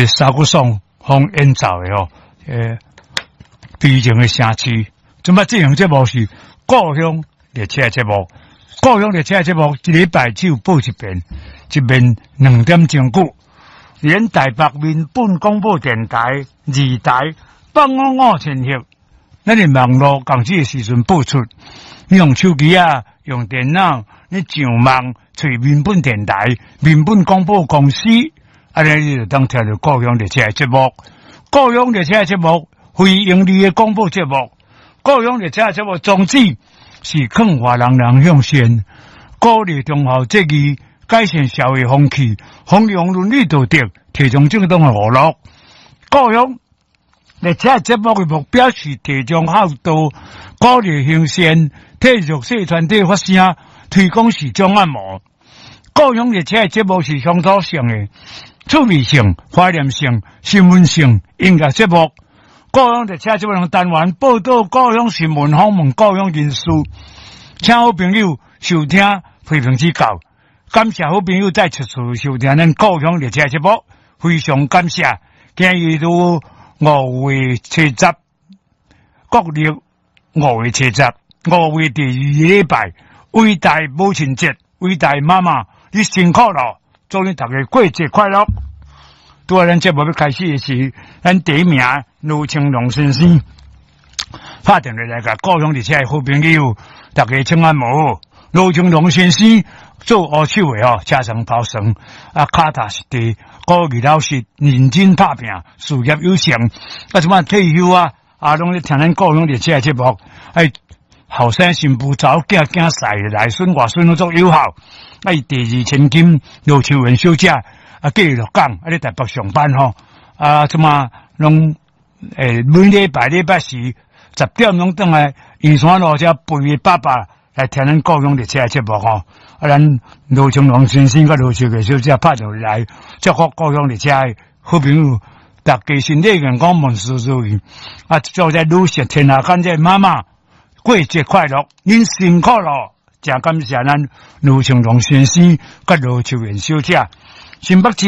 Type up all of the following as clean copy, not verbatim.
沙克爽風演奏的吼，悲情的城市。這擺這項節目是故鄉列車節目，故鄉列車節目一禮拜只有播一遍，一遍2點鐘久。連台北民本廣播電台2台855千赫，咱佇網路仝這个時陣播出。你用手機啊，用電腦，你上網揣民本電台、民本廣播公司，按呢你就當聽著故鄉列車的節目。故鄉列車的節目，非營利的廣播節目。故鄉列車的節目宗旨是勸化人人向善，鼓勵忠孝節義，改善社會風氣，弘揚倫理道德，提倡正當的娛樂。故鄉列車節目的目標是提倡孝道，鼓勵行善，替弱勢團體發聲，推廣視障按摩。故鄉列車節目是鄉土性的、趣味性、懷念性、新聞性音樂節目。故鄉列車節目單元報導故鄉新聞，訪問故鄉人士，請好朋友收聽批評指教。感謝好朋友再次收聽咱故鄉列車節目，非常感謝。今日都5月70，國曆5月70，5月第二禮拜，偉大母親節，偉大媽媽，你辛苦了，祝你大家過節快樂。拄仔咱節目欲開始的時，咱第一名盧清龍先生拍電話來共故鄉列車的好朋友，大家請按摩。盧清龍先生做烏手的吼，車床跑床，啊，跤踏實地，古語老實，認真拍拚，事業有成。啊，這擺退休啊，啊，攏咧聽咱故鄉列車的節目，哎，後生新婦查某囝囝婿內孫外孫攏足友好。啊，伊第二千金盧秋雲小姐，啊，嫁鹿港，啊，咧台北上班吼，啊，這擺攏每禮拜禮拜四10點攏轉來圓山路遮陪伊爸爸來聽咱故鄉列車的節目吼。啊，咱盧清龍先生佮盧秋月小姐拍電話來祝福故鄉列車的好朋友，大家身體健康，萬事如意。啊，祝這女士天下間這媽媽過節快樂，恁辛苦咯，誠感謝咱盧清龍先生佮盧秋元小姐。新北市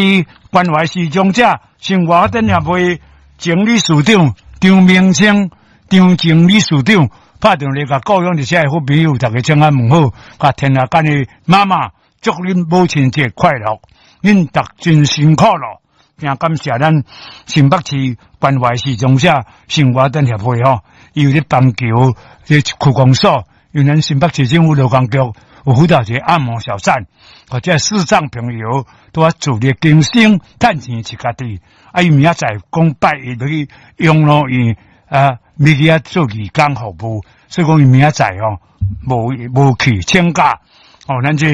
關懷視障者生活發展協會前理事長張明清、張靜理事長拍電話共故鄉列車的好朋友，大家請安問好，共天下間的媽媽祝恁母親節快樂，恁逐真辛苦咯，誠感謝咱新北市關懷視障者生活發展協會吼，伊有咧板橋這區公所，因為咱新北市政府勞工局有輔導一個按摩小站，或者視障朋友都愛自力更生，趁錢飼家己。啊，伊明仔載講拜一去養老院啊，欲去遐做義工服務，所以講伊明仔載吼無去請假。哦，咱這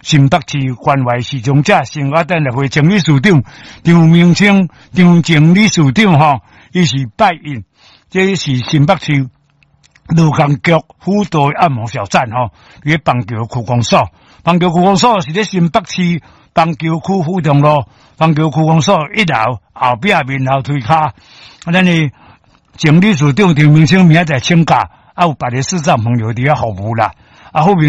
新北市關懷視障者生活發展協會前理事長張明清、張靜理事長吼，伊是拜一，這是新北市勞工局輔導按摩小站吼，佇咧板橋區公所，板橋區公所是咧新北市板橋區府中路，板橋區公所一樓後壁面樓梯跤。啊，咱的前理事長張明清明仔載請假，啊，有別个視障朋友佇遐服務啦，啊，好朋